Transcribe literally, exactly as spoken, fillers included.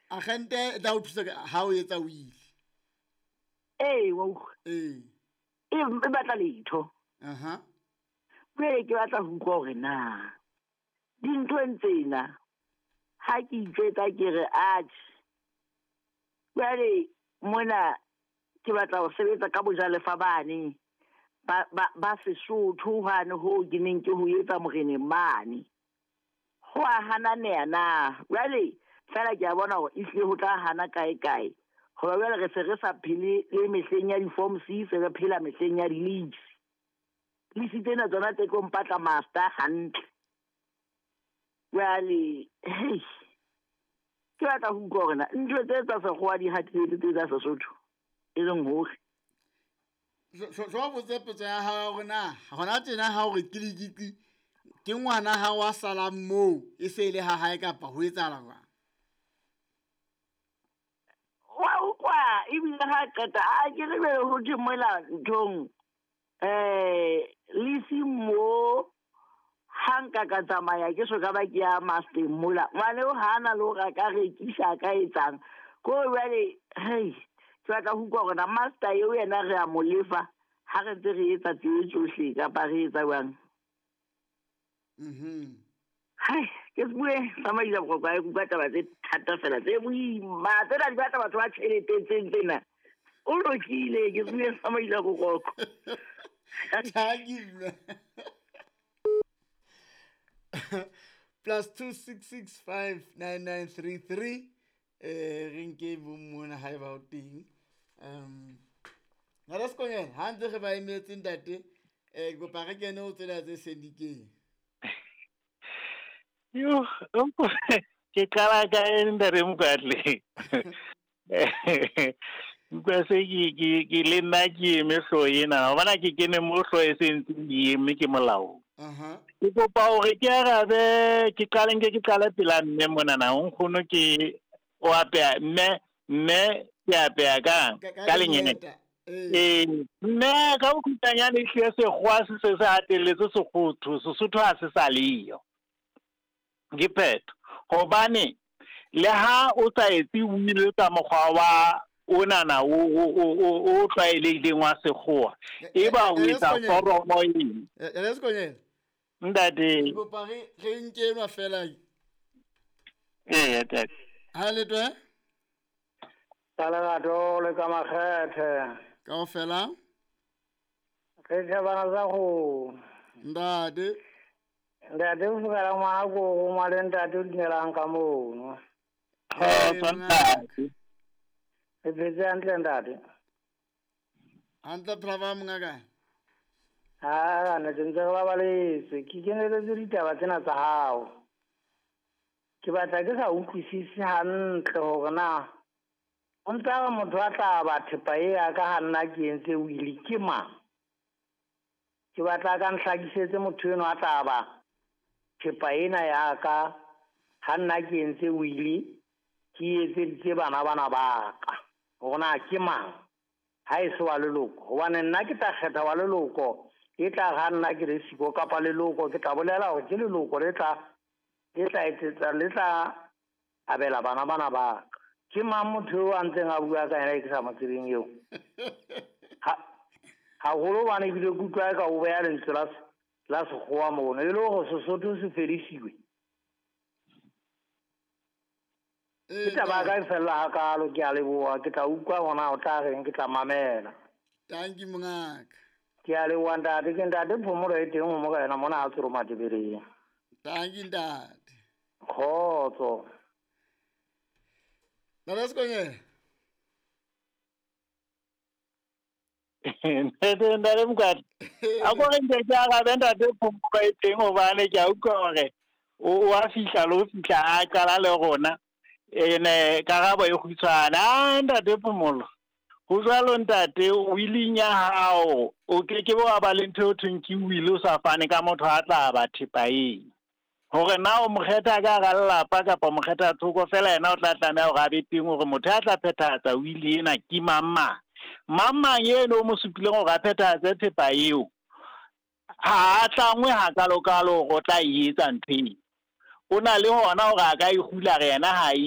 Agente e tla o thusa ha o etsa will. Ee, wa utlwa. Ee. E e batla letho. Aha. Jwale ke batla ho utlwa hore na dinthong tsena ha ke itjwetsa ke re atjhe, jwale mona ke batla ho sebetsa ka bojalefa bane ba ba ba Sesotho hwane ho ke neng ke ho etsa moreneng mane. Ho a hananeha na? Jwale feela ke a bona hore ehlile ho tla hana kae kae. Hoba jwale re se re sa phele le mehleng ya di-form C, se re phela mehleng ya di-lease. Lease tsena tsona tse tlo mpatla master hantle. Jwale hei, ke batla ho utlwa hore na ntho tse tsa sekgowa di hatile tse tsa Sesotho e leng hore Hlo botse potso ya hao hore na hona tjena ha o re kilikiti ke ngwana ha wa salang moo e se e le ha hae kapa ho etsahala jwang? Wa utlwa ebile ha qeta a ke re jwale ho thwe mola nthong eh lease mo ha nka ka tsamaya ke so ka ba ke ya master mola ngwane o hana le hore a ka rekisa a ka etsang ko jwale hei ke batla ho utlwa hore na master eo yena re a mo lefa ha re ntse re etsa tseo tsohle kapa re etsa jwang. Mhm. Hai, ke se bue tsamaisa boroko ha ke utlwa taba tse thata fela tse boima tsena di batla batho ba tjhelete tseng tsena. O lokile ke se bue tsamaisa boroko. Thank you. Plus two six six five nine nine three three. Eh re nke mona ha eba o teng. Um Nna Sekonyela ha ntse re ba emetse ntate eh kopa re kene ho tsela tse sendikeng. Yo, ke qala ka ntate Mokwatle. Utlwa se ke ke ke le nna ke eme hlooho ena. Wa bona ke kene mo hlooho e se ntseng e eme ke molao. Aha. Ke kopa hore ke arabe ke qale nke ke qale pela mme monana. Nkgono ke o apeya mme mme ke apeya kang ka lenyeta. Ee. Mme ka bokhutshwanyane ehlile sekgowa se se se hatelletse Sesotho, Sesotho ha se sa leyo. Ke phetho. Hobane le ha o sa etse will ka mokgwa wa onana o o o o tlwaelehileng wa sekgowa, eba o etsa foromo eng. Ntate Sekonyela. Ntate. Ke kopa re re nke enwa fela. Ee, ntate. Ha le twe? Ka lerato le ka makgethe. Kaofela. Re thabana tsa go. Ntate. Ntate o fokela ngwana ko go ngwa le ntate o dumelang ka mono. Kgotso ntate. Re phetse hantle ntate. Hantle phela mongaka. Ha ne ke ntse re babaletse ke keneletse ditaba tsena tsa hao. Ke batla ke sa utlwisise hantle hore na o ntse re motho a tla ba thepa e ya ka ha nna ke entse will ke mang. Ke batla ka nhlakisetse motho eno a tla ba thepa ena ya ka ha nna ke entse will ke etseditse bana bana ba ka hore na ke mang ha e se wa leloko. Hobane nna ke tla kgetha wa leloko e tla ha nna ke re siko kapa leloko ke tla bolela hore ke leloko le tla le tla etsetsa le tla abela bana bana ba ka. Ke mang motho eo a ntseng a bua ka yena e ke sa mo tsebeng eo? Ha haholo bane ebile ke utlwa ka o beha lentswe la la sekgowa mono e le hore Sesotho se fedisiwe. Ke taba ya ka e fella hakalo, ke a leboha. Ke tla utlwa hona o tla reng, ke tla mamela. Thank you mongaka. Ke a leboha ntate, ke ntate Phomolo e teng ho morena mona a Tsoro Matebeleng. Thank you ntate. Kgotso. Ntate Sekonyela. Ntate ntate Mokwatle. A ko re nke ke arabe ntate Phomolo e teng hobane ke a utlwa hore o a fihla le ho fihla a qala le rona. Ene karabo e kgutshwane. Ah ntate Phomolo. Ho jwalo ntate willing ya hao o ke ke wa ba le ntho eo thweng ke will o sa fane ka motho a tla ba thepa eng. Hore na o mo kgetha ka hara lelapa kapa mo kgetha thoko fela yena o tla tlameha hore a be teng hore motho a tla phethahatsa will ena ke mang mang. Mang mang eno o mo supileng hore a phethahatse thepa eo ha a tlangwe hakalokalo hore o tla e etsa ntho eo. O na le hona hore a ka e hula re yena ha e